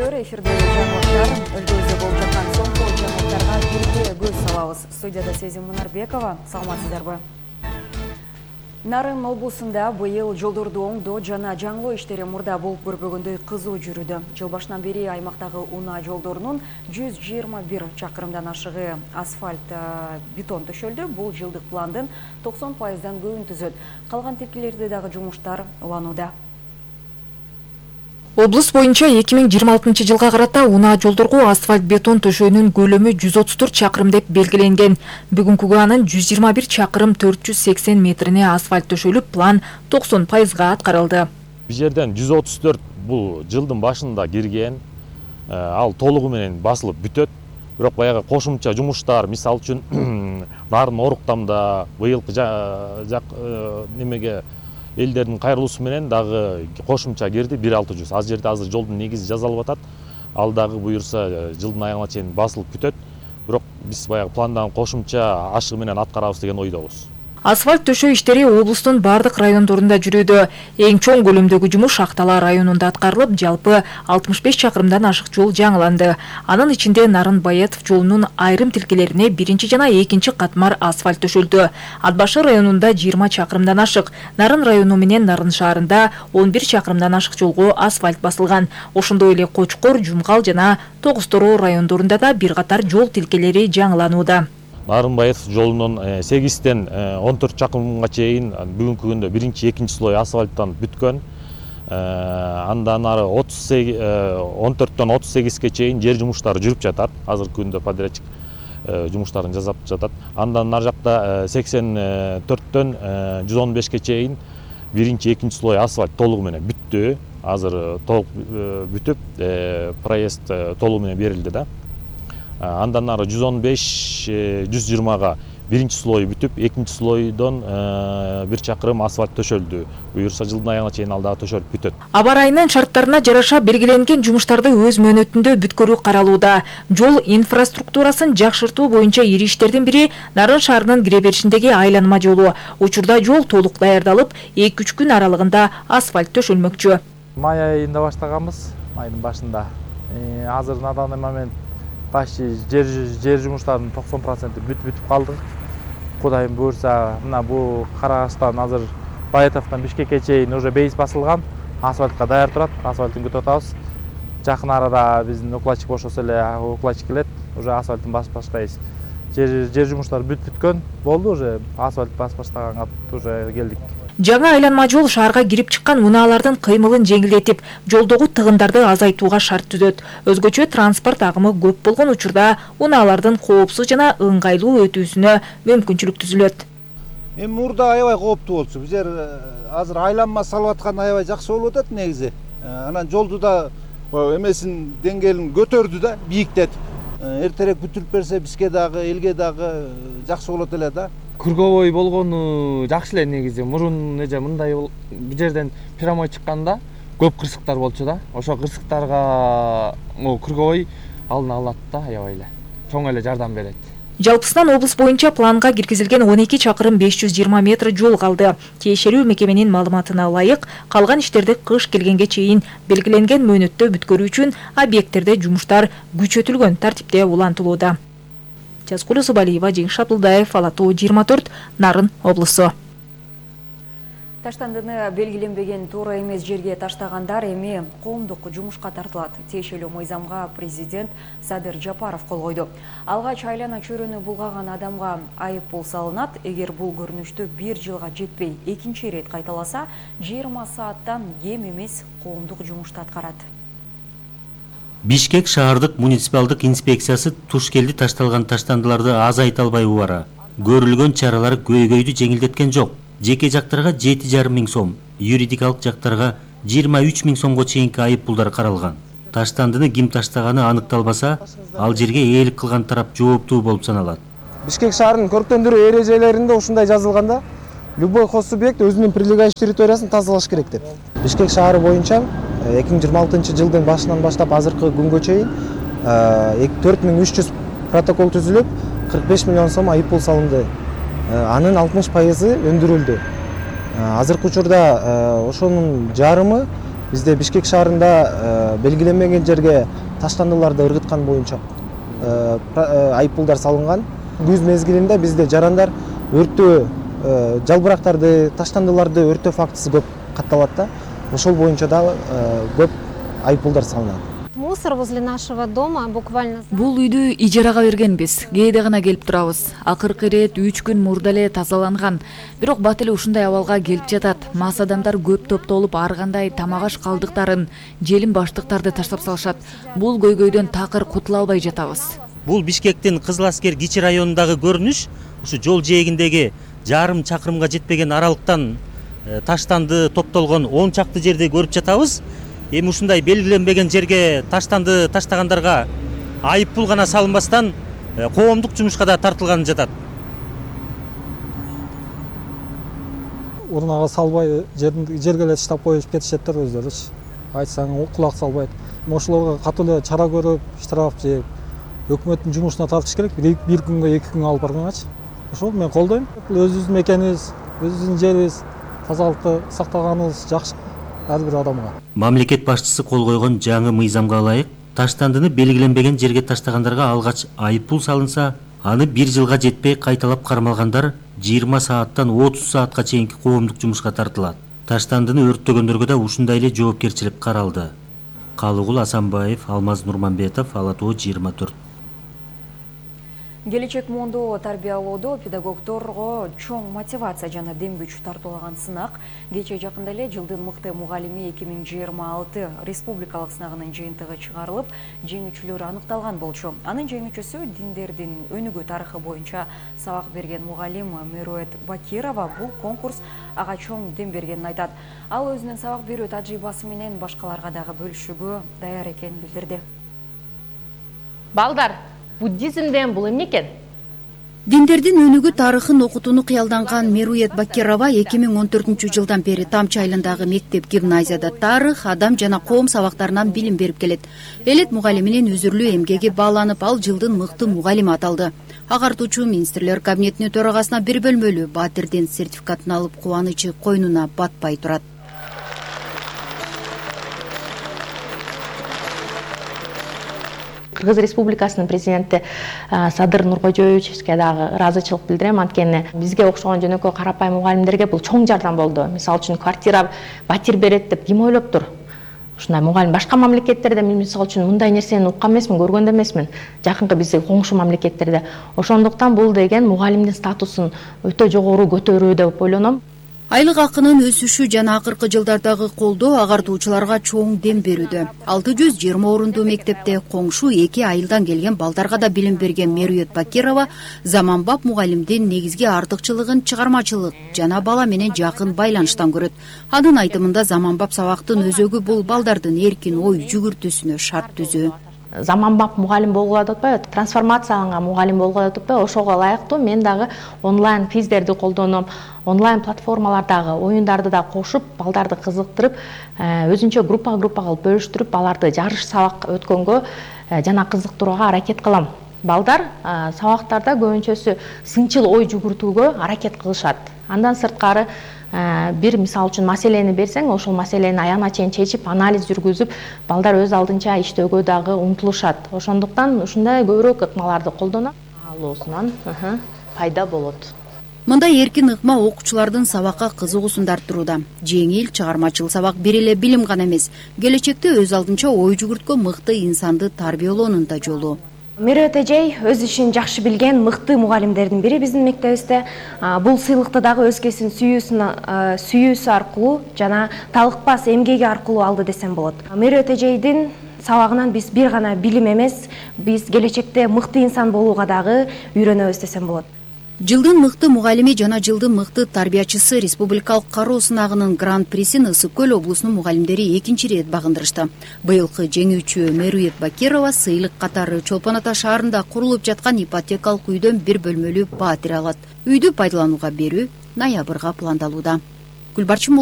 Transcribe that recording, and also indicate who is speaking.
Speaker 1: көрүүчүлөр, эфирде жаңылыктар өлкөбүздө болуп жаткан соңку жаңылыктарга бирге көз салабыз. Студияда Сезим Мунарбекова, саламатсыздарбы? Нарын облусунда быйыл жолдорду оңдоо жана жаңылоо иштери мурда болуп көрбөгөндөй кызуу жүрүүдө. Жыл башынан бери аймактагы унаа жолдорунун 121 чакырымдан ашыгы асфальт бетон төшөлдү. Бул жылдык пландын 90%дан көбүн түзөт. Калган тепкилерде дагы жумуштар уланууда.
Speaker 2: Облус боюнча 2026 жылга карата унаа жолдорго асфальт бетон төшөөнүн көлөмү 134 чакырым деп белгиленген. Бүгүнкүгө анын 121 чакырым 480 метрине асфальт төшөлүп, план 90%га аткарылды.
Speaker 3: Бул жерден 134 бул жылдын башында кирген, ал толугу менен басылып бүтөт. Бирок баягы кошумча жумуштар, мисалы үчүн нарын оруктамда быйылкы немеге элдердин кайрылуусу менен дагы кошумча кирди 1600. Аз жерде азыр жолдун негизи жасалып атат. Ал дагы буюрса жылдын аягына чейин басылып бүтөт. Бирок биз баягы пландан кошумча ашыгы менен аткарабыз деген ойдобуз.
Speaker 2: Асфальт төшөө иштери облустун бардык райондорунда жүрүүдө. Эң чоң көлөмдөгү жумуш Шахтала районунда аткарылып, жалпы 65 чакырымдан ашык жол жаңыланды. Анын ичинде Нарын Баятов жолунун айрым тилкелерине биринчи жана экинчи катмар асфальт төшөлдү. Ат башы районунда 20 чакырымдан ашык, Нарын району менен Нарын шаарында 11 чакырымдан ашык жолго асфальт басылган. Ошондой эле Кочкор, Жумгал жана Тогуз-Тороо райондорунда да бир катар жол тилкелери жаңыланууда.
Speaker 3: Нарын Баятов жолунун 8-тен 14 чакырымга чейин бүгүнкү күндө биринчи, экинчи слой асфальттан бүткөн. Андан ары 14төн 38ге чейин жер жумуштары жүрүп жатат. Азыркы күндө подрядчик жумуштарын жасап жатат. Андан ар жакта 84төн 115ге чейин биринчи, экинчи слой асфальт толугу менен бүттү. Азыр толук бүтүп, проезд толугу менен берилди да. Андан ары 115-120га биринчи слой бүтүп, экинчи слойдон 1 чакырым асфальт төшөлдү. Буюрса жылдын аягына чейин ал дагы төшөлүп бүтөт.
Speaker 2: Аба ырайынын шарттарына жараша белгиленген жумуштарды өз мөөнөтүндө бүткөрүү каралууда. Жол инфраструктурасын жакшыртуу боюнча ири иштердин бири Нарын шаарынын кире беришиндеги айланма жолу. Учурда жол толук даярдалып, 2-3 күн аралыгында асфальт төшөлмөкчү.
Speaker 4: Май айында баштаганбыз, майдын башында. Азыр на данный момент жер жумуштарынын 90% бүтүп калдык. Кудайым буйрса, мына бул Карагачтан азыр Баятовдон Бишкекке чейин уже бейс басылган, асфальтка даяр турат, асфальтын күтүп атабыз. Жакын арада биздин укладчик бошосо эле укладчик келет, уже асфальтын басып баштайбыз. Жер жумуштары бүткөн болду, уже асфальт басып баштаганга уже келдик.
Speaker 2: Жаңа айланма жол шаарга кирип чыккан унаалардын кыймылын жеңилдетип, жолдогу тыгындарды азайтууга шарт түзөт. Өзгөчө транспорт агымы көп болгон учурда унаалардын коопсуз жана ыңгайлуу өтүүсүнө мүмкүнчүлүк түзүлөт.
Speaker 5: Мурда аябай кооптуу болчу. Бул жер азыр айланма салып аткан аябай жакшы болуп атат негизи. Анан жолду да эмесин деңгээлин көтөрдү да, бийиктетип. Эртерээк бүтүрүп берсе бизге дагы, элге дагы жакшы болот эле да.
Speaker 4: Күргөбөй болгону жакшы эле негизи. Мурун мындай бул жерден прямой чыкканда көп кырсыктар болчу да. Ошо кырсыктарга күргөбөй алына алат да, аябай эле. Чоң эле жардам берет.
Speaker 2: Жалпысынан облус боюнча планга киргизилген 12 чакырым 520 метр жол калды. Тиешелүү мекеменин маалыматына ылайык, калган иштерди кыш келгенге чейин белгиленген мөөнөттө бүткөрүү үчүн объекттерде жумуштар күчөтүлгөн тартипте улантылууда. Жазгуль Зубалиева, Жеңиш Абдулдаев, Ала Тоо 24, Нарын облусу.
Speaker 1: Таштандыны белгиленбеген туура эмес жерге таштагандар эми коомдук жумушка тартылат. Тиешелүү мыйзамга президент Садыр Жапаров кол койду. Алгач айлана чөйрөнү булгаган адамга айып пул салынат. Эгер бул көрүнүштү 1 жылга жетпей экинчи ирет кайталаса, 20 сааттан кем эмес коомдук жумушту аткарат.
Speaker 6: Бишкек шаардык муниципалдык инспекциясы туш келди ташталган таштандыларды азайта албай убара. Көрүлгөн чаралар көйгөйдү жеңилдеткен жок. Жеке жактарга 7,5 миң сом, юридикалык жактарга 23 миң сомго чейинки айып пулдар каралган. Таштандыны ким таштаганы аныкталбаса, ал жерге ээлик кылган тарап жооптуу болуп саналат.
Speaker 7: Бишкек шаарынын көрктөндүрүү эрежелеринде ушундай жазылганда, любой хозсубъект өзүнүн прилегающий территориясын тазалаш керек деп. Бишкек шаары боюнча 2026 жылдын башынан баштап азыркы күнгө чейин 4300 протокол түзүлүп, 45 миллион сом айып пул салынды. Анын 60% өндүрүлдү. Азыркы учурда ошонун жарымы Бизде Бишкек шаарында белгиленбеген жерге таштандыларды ыргыткан боюнча айыппулдар салынган. Күз мезгилинде бизде жарандар өрттөө жалбырактарды, таштандыларды өрттөө фактысы көп катталат да. Ошол боюнча да көп айыппулдар салынат.
Speaker 8: Мусор возле нашего дома буквально...
Speaker 2: Бул үйдү ижарага бергенбиз. Кээде гана келип турабыз. Акыркы ирет 3 күн мурда эле тазаланган. Бирок бат эле ушундай абалга келип жатат. Мас адамдар көп топтолуп ар кандай тамак аш калдыктарын, желим баштыктарды таштап салышат. Бул көйгөйдөн такыр кутула албай жатабыз.
Speaker 6: Бул Бишкектин Кызыл Аскер кичи районундагы көрүнүш. Ушу жол жээгиндеги жарым чакырымга жетпеген аралыктан таштанды топтолгон 10 чакты жерде көрүп жатабыз. Эми ушундай белгиленбеген жерге таштанды таштагандарга айыппул гана салынбастан коомдук жумушка да тартылганы жатат.
Speaker 9: Урнага салбай жерге эле таштап коюп кетишеттер өздөрүчү. Айтсаң кулак салбайт. Ошолорго катуу эле чара көрүп, штраф же өкмөттүн жумушуна тартыш керек. Бир күнгө 2 күнгө алып барганчы. Ошол мен колдойм. Өзүбүздүн мекенибиз, өзүбүздүн жерибиз, тазалыкты сактаганыбыз жакшы ар бир адамга.
Speaker 6: Мамлекет башчысы кол койгон жаңы мыйзамга ылайык таштандыны белгиленбеген жерге таштагандарга алгач айыппул салынса, аны 1 жылга жетпей кайталап кармалгандар 20 сааттан 30 саатка чейинки коомдук жумушка тартылат. Таштандыны өрттөгөндөргө да ушундай эле жоопкерчилик каралды. Калыгул Асанбаев, Алмаз Нурманбетов, Ала Тоо 24.
Speaker 1: Келечек муунду тарбиялоодо педагогдорго чоң мотивация жана дем күч тартуулаган сынак кече жакында эле жылдын мыкты мугалими 2026 республикалык сынагынын жыйынтыгы чыгарылып, жеңүүчүлөр аныкталган болчу. Анын жеңүүчүсү диндердин өнүгүү тарыхы боюнча сабак берген мугалим Мерует Бакирова. Бул конкурс ага чоң дем бергенин айтат. Ал өзүнүн сабак берүү тажрыйбасы менен башкаларга дагы бөлүшүүгө даяр экенин билдирди.
Speaker 10: Балдар, буддизмден бул эмне экен?
Speaker 11: Диндердин өнүгүү тарыхын окутууну кыялданган Мерует Бакирова 2014 жылдан бери Тамчы айылындагы мектеп-гимназияда тарых, адам жана коом сабактарынан билим берип келет. Элет мугалиминин үзүрлүү эмгеги бааланып, ал жылдын мыкты мугалими аталды. Агартуучу министрлер кабинетинин төрагасына 1 бөлмөлүү Батирдин сертификатын алып, кубанычы койнуна батпай турат.
Speaker 10: Кыргыз Республикасынын президенти Садыр Нуркожоевичке дагы ыраазычылык билдирем. Анткени бизге окшогон жөнөкөй карапайым мугалимдерге бул чоң жардам болду. Мисалы үчүн квартира, батир берет деп ким ойлоптур? Ушундай мугалим башка мамлекеттерде мен мисалы үчүн мындай нерсени уккан эмесмин, көргөн да эмесмин. Жакынкы биздин коңшу мамлекеттерде. Ошондуктан бул деген мугалимдин статусун өтө жогору көтөрүү деп ойлоном.
Speaker 11: Айлык акынын өсүшү жана акыркы жылдардагы колдоо агартуучуларга чоң дем берүүдө. 620 орундуу мектепте коңшу 2 айылдан келген балдарга да билим берген Мерует Бакирова заманбап мугалимдин негизги артыкчылыгын чыгармачылык жана бала менен жакын байланыштан көрөт. Анын айтымында заманбап сабактын өзөгү бул балдардын эркин ой жүгүртүүсүнө шарт түзүү.
Speaker 10: Заманбап мугалим болгула деп атпайбы, трансформацияланган мугалим болгула деп атпайбы, ошого ылайыктуу мен дагы онлайн квиздерди колдоном, онлайн платформалардагы оюндарды да кошуп, балдарды кызыктырып, өзүнчө группа кылып бөлүштүрүп, аларды жарыш сабак өткөнгө жана кызыктырууга аракет кылам. Балдар сабактарда көбүнчөсү сынчыл ой жүгүртүүгө аракет кылышат. Андан сырткары бир мисал үчүн маселени берсең, ошол маселени аягына чейин чечип, анализ жүргүзүп, балдар өз алдынча иштөөгө дагы умтулушат. Ошондуктан ушундай көбүрөөк ыкмаларды колдонам. Алуусунан пайда болот.
Speaker 11: Мындай эркин ыкма окуучулардын сабакка кызыгуусун арттырууда. Жеңил, чыгармачыл сабак бир эле билим гана эмес, келечекте өз алдынча ой жүгүрткөн мыкты инсанды тарбиялоонун да жолу.
Speaker 8: Мерует эжей өз ишин жакшы билген мыкты мугалимдердин бири биздин мектебибизде. Бул сыйлыкты дагы өзгесин сүйүүсү аркылуу жана талыкпас эмгеги аркылуу алды десем болот. Мерует эжейдин сабагынан биз бир гана билим эмес, биз келечекте мыкты инсан болууга дагы үйрөнөбүз десем болот.
Speaker 11: Жылдын мыкты мугалими жана жылдын мыкты тарбиячысы республикалык кароо сынагынын гран-присин Ысык Көл облусунун мугалимдери 2-чи рет багындырышты. Быйылкы жеңүүчү Мерует Бакирова сыйлык катары Чолпон Ата шаарында курулуп жаткан ипотекалык үйдөн 1 бөлмөлүү батир алат. Үйдү пайдаланууга берүү ноябрга пландалууда. Гүлбарчын